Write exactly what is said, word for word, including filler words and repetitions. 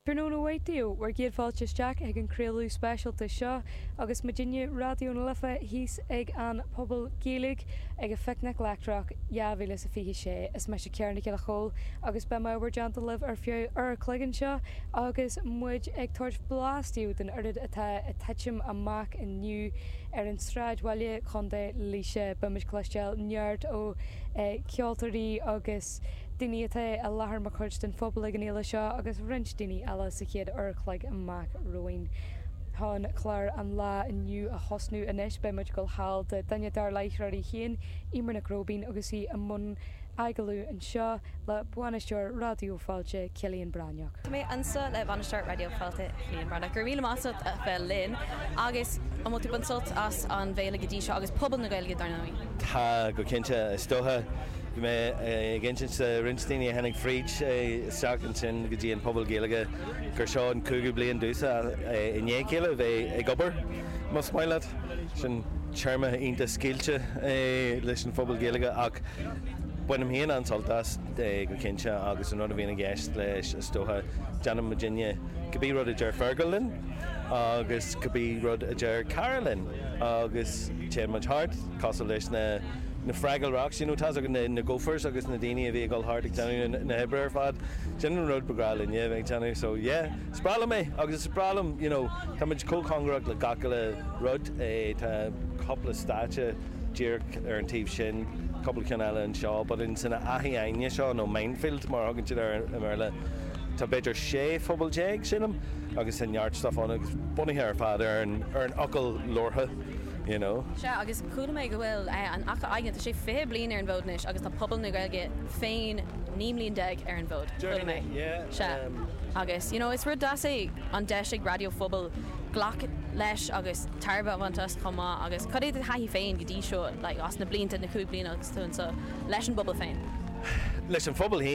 Tráthnóna mhaith daoibh, bhur gcéad fáilte isteach ag an craoladh speisialta seo agus muidinne Raidió na Life thíos ag an Phuball Gaeilge ag an Phicnic Leictreach dhá mhíle is a fiche sé. Is mise Ciara Nic Giolla Chóill agus beidh mé i bhur dteannta libh ar feadh uair a chloig anseo agus muid ag tabhairt blas daoibh den oiread atá ag titim amach inniu ar an sráidbhaile Chontae Laoise. Beimid cloisteáil neart ó ceoltóirí agus daoine atá i láthair mar chuid den phobal ag an fhéile seo agus roinnt daoine eile sa chéad uair a chloig amach romhainn. Chun clár an lá inniu a thosnú anois beidh muid ag dul thall do duine dár láithreoirí féin, Eimear Nic Róibín agus í i mbun agallamh anseo le bainisteoir Raidió Fáilte, Cillian Breathnach. Tá mé anseo le bainisteoir Raidió Fáilte Cillian Breathnach. Go raibh míle maith agat a bheith linn agus an bhfuil tú ag baint sult as an bhféile go dtí seo agus pobal na Gaeilge dar ndóigh. Tá go cinnte is dócha bhí mé ag insint do roinnt daoine a tháinig fríd isteach ansin go dtí an Phuball Gaeilge gur seo an cúigiú bliain domhsa i ndiaidh a chéile bheith ag obair más maith leat sin téarma iontach scaoilte leis an Phuball Gaeilge ach bainim féin an-sult as go cinnte agus an rud a bhíonn i gceist leis is dócha déanann muidinne cibé rud a deir Fergal linn agus cibé rud a deir Cara linn agus téann muid thart cosúil leis na na Fraggle Rocks, you know, tá na, na gophers agus na daoine a bhí ag dul thart ag déanamh na hoibre ar fad. Sin an rud ba ghnách linne bheith ag déanamh so yeah, is breá liom é agus is breá liom, you know, tá muid chomh cóngarach le gach uile rud é tá cúpla stáitse díreach ar an taobh sin, cúpla ceann eile anseo, but in san Fhaiche Aidhne seo nó Minefield mar a thugann siad ar i mBéarla. Tá b'fhéidir sé phuball déag sílim agus tá neart stuff ann agus bunaithe ar fad ar an ar an fhocal labhartha, you know. Sea agus chuala mé go bhfuil an Fhaiche Aidhne tá sé fiche bliain ar an bhfód anois agus tá pobal na Gaeilge féin naoi mbliain déag ar an bhfód. Chuala mé. Yeah. Sea agus you know, is rud deas é an deis ag raidió phobail glacadh leis agus tairbhe a bhaint as chomh maith agus cad é do thaithí féin go dtí seo like, as na blianta na cúig bliana agus tú anseo leis an bpobal féin. Leis an phobal féin